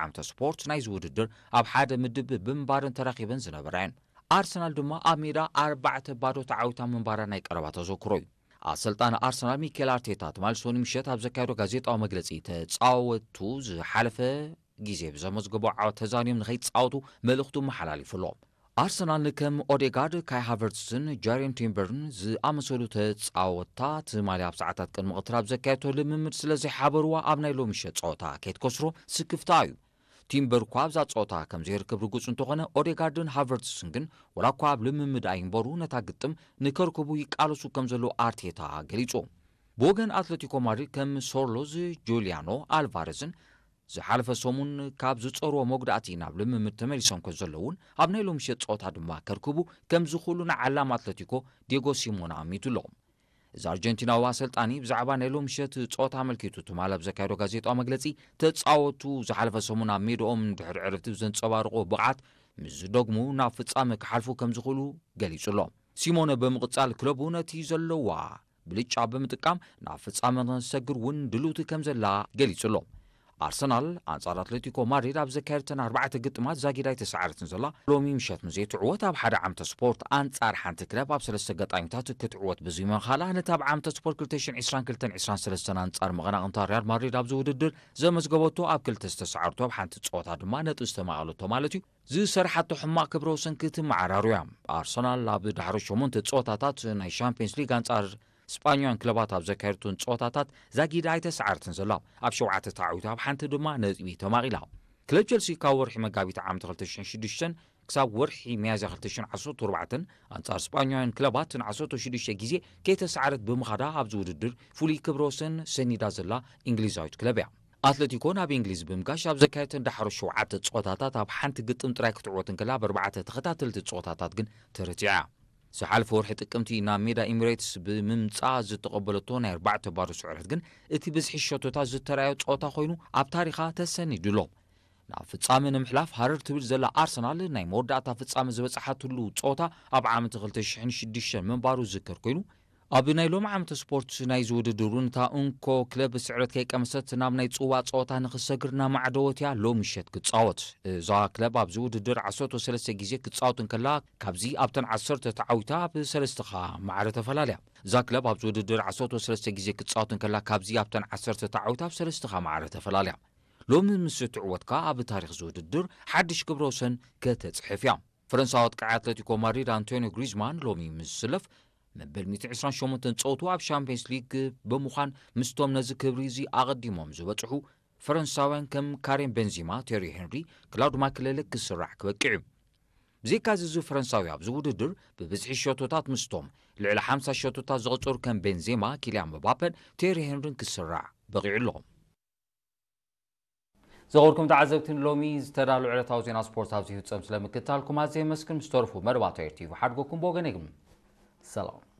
ዓመተ ስፖርት ናይዚ ውድድር ኣብ ሓደ ምድብ ብምንባረን ተራኺበን ዝነበራ እየን። ኣርሰናል ድማ ኣብ ሜዳ ኣርባዕተ ባዶ ተዓዊታ ምንባራ ናይ ቀረባ ተዘክሮ እዩ። ኣሰልጣኒ ኣርሰናል ሚኬል ኣርቴታ ትማሊ ሰኑይ ምሸት ኣብ ዘካየዶ ጋዜጣዊ መግለጺ፣ ተጻወቱ ዝሓለፈ ግዜ ብዘመዝገቦ ዓወት ተዛንዮም ንኸይጻወቱ መልእኽቱ መሓላሊፉ ኣሎ። ኣርሰናል ንከም ኦዴጋርድ፣ ካይ ሃቨርትስን ጃሬን ቲምበርን ዝኣመሰሉ ተጻወትታ ትማሊ ኣብ ሰዓታት ቅድሚ ቀትሪ ኣብ ዘካየድቶ ልምምድ ስለ ዘይሓበርዋ ኣብ ናይ ሎሚ ምሸት ጸወታ ከይትከስሮ ስክፍታ እዩ። ቲምበር እኳ ኣብዛ ጸወታ ከም ዘይርከብ ርጉጽ እንተኾነ፣ ኦዴጋርድን ሃቨርትስን ግን ወላ እኳ ኣብ ልምምድ ኣይንበሩ ነታ ግጥም ንከርክቡ ይቃለሱ ከም ዘለዉ ኣርቴታ ገሊጹ። ብወገን ኣትለቲኮ ማድሪድ ከም ሶርሎዝ፣ ጁሊያኖ ኣልቫረዝን ዝሓለፈ ሰሙን ካብ ዝጸርዎ መጉዳእቲ ናብ ልምምድ ተመሊሶም ከም ዘለውን ኣብ ናይ ሎሚ ምሸት ጸወታ ድማ ከርክቡ ከም ዝኽእሉ ንዓላም ኣትለቲኮ ዲየጎ ሲሞና ኣሚቱ ኣሎ። እዚ ኣርጀንቲናዊ ኣሰልጣኒ ብዛዕባ ናይ ሎሚ ምሸት ጸወታ ኣመልኪቱ ትማሊ ኣብ ዘካየዶ ጋዜጣዊ መግለጺ፣ ተጻወቱ ዝሓለፈ ሰሙን ኣብ ሜዳኦም ድሕሪ ዕረፍቲ ብዘንጸባርቖ ብቕዓት ምስ ዝደግሙ ናብ ፍጻመ ክሓልፉ ከም ዝኽእሉ ገሊጹ ኣሎ። ሲሞነ ብምቕጻል ክለቡ ነቲ ዘለዋ ብልጫ ብምጥቃም ናብ ፍጻመ ንኽትሰግር እውን ድልውቲ ከም ዘላ ገሊጹ ኣሎ። ኣርሰናል ኣንጻር ኣትሌቲኮ ማድሪድ ኣብ ዘካየደተን ኣርባዕተ ግጥማት ዛጊድ ኣይተሰዓረትን ዘላ። ሎሚ ምሸት ምስ ዘይትዕወት ኣብ ሓደ ዓመተ ስፖርት ኣንጻር ሓንቲ ክለብ ኣብ ሰለስተ ኣጋጣሚታት ክትዕወት ብዘይምኽኣላ፣ ነቲ ኣብ ዓመተ ስፖርት ክልተ ሽሕን ዕስራን ክልተን ዕስራን ሰለስተን ኣንጻር መቐናቕንታ ሪያል ማድሪድ ኣብዚ ውድድር ዘመዝገበቶ ኣብ ክልተ ዝተሰዓረቶ ኣብ ሓንቲ ጸወታ ድማ ነጥቢ ዝተማቐለቶ ማለት እዩ፣ ዝሰርሓቶ ሕማቕ ክብረ ወሰን ክትመዓራሩ እያ። ኣርሰናል ኣብ ዳሕሮ ሸሞንተ ጸወታታት ናይ ሻምፒየንስ ሊግ ኣንጻር ስጳኛውያን ክለባት ኣብ ዘካየደቶን ጸወታታት ዛጊዳ ኣይተሰዓረትን ዘላ። ኣብ ሸውዓተ ተዓዊታ ኣብ ሓንቲ ድማ ነጥቢ ተማቒላ። ክለብ ቸልሲ ካብ ወርሒ መጋቢት ዓመት ክልተ ሽሕን ሽዱሽተን ክሳብ ወርሒ ሚያዝያ ክልተ ሽሕን ዓሰርተ ኣርባዕተን ኣንጻር ስጳኛውያን ክለባት ንዓሰርተ ሽዱሽተ ግዜ ከይተሰዓረት ብምኻዳ ኣብዚ ውድድር ፍሉይ ክብረ ወሰን ሰኒዳ ዘላ እንግሊዛዊት ክለብ እያ። ኣትለቲኮ ናብ እንግሊዝ ብምጋሽ ኣብ ዘካየደተን ዳሕሮ ሸውዓተ ጸወታታት ኣብ ሓንቲ ግጥም ጥራይ ክትዕወት እንከላ፣ ኣብ ኣርባዕተ ተኸታተልቲ ጸወታታት ግን ተረቲዓ። ዝሓለፈ ወርሒ ጥቅምቲ ናብ ሜዳ ኤሚሬትስ ብምምጻእ ዝተቐበለቶ ናይ ኣርባዕተ ባዶ ስዕረት ግን እቲ ብዝሒ ሸቶታት ዝተራእዮ ጸወታ ኮይኑ ኣብ ታሪኻ ተሰኒዱ ኣሎ። ናብ ፍጻመ ንምሕላፍ ሃረር ትብል ዘላ ኣርሰናል ናይ መወዳእታ ፍጻመ ዝበጽሓትሉ ጸወታ ኣብ ዓመት ክልተ ሽሕን ሽዱሽተን ምንባሩ ዝዝከር ኮይኑ፣ ኣብ ናይ ሎሚ ዓመተ ስፖርት ናይዚ ውድድር እውን እታ እንኮ ክለብ ስዕረት ከይቀመሰት ናብ ናይ ጽዋእ ጸወታ ንኽትሰግር እናማዕደወት እያ ሎሚ ምሸት ክትጻወት። እዛ ክለብ ኣብዚ ውድድር ዓሰርተ ሰለስተ ግዜ ክትጻወት እንከላ፣ ካብዚ ኣብተን ዓሰርተ ተዓዊታ ብሰለስተኻ ማዕረ ተፈላልያ። እዛ ክለብ ኣብዚ ውድድር ዓሰርተ ሰለስተ ግዜ ክትጻወት እንከላ፣ ካብዚ ኣብተን ዓሰርተ ተዓዊታ ብሰለስተኻ ማዕረ ተፈላልያ። ሎሚ ምስ ትዕወት ከኣ ኣብ ታሪኽ እዚ ውድድር ሓድሽ ክብረ ወሰን ከተጽሕፍ እያ። ፈረንሳዊ ኣጥቃዒ ኣትለቲኮ ማድሪድ ኣንቶኒዮ ግሪዝማን ሎሚ ምስ ዝስለፍ፣ መበል ሚእቲ ዕስራን ሸሞንተን ጸወቱ ኣብ ሻምፒየንስ ሊግ ብምዃን ምስቶም ነዚ ክብሪ እዚ ኣቐዲሞም ዝበጽሑ ፈረንሳውያን ከም ካሪም ቤንዚማ፣ ቴሪ ሄንሪ፣ ክላውድ ማክሌሌ ክስራዕ ክበቅዕ እዩ። ብዘይካዚ እዚ ፈረንሳዊ ኣብዚ ውድድር ብብዝሒ ሸቶታት ምስቶም ልዕሊ ሓምሳ ሸቶታት ዘቐጸሩ ከም ቤንዜማ፣ ኪልያን ምባፐን ቴሪ ሄንሪን ክስራዕ በቒዑ ኣሎ። ዝኸበርኩም ተዓዘብቲ፣ ንሎሚ ዝተዳለወ ዕለታዊ ዜና ስፖርት ኣብዚ ይፍጸም። ስለ ምክትታልኩም ኣዝየ የመስግን። ምስ ተረፉ መደባት ኤር ቲቪ ሓድጎኩም ብወገነይ ግን ሰላም።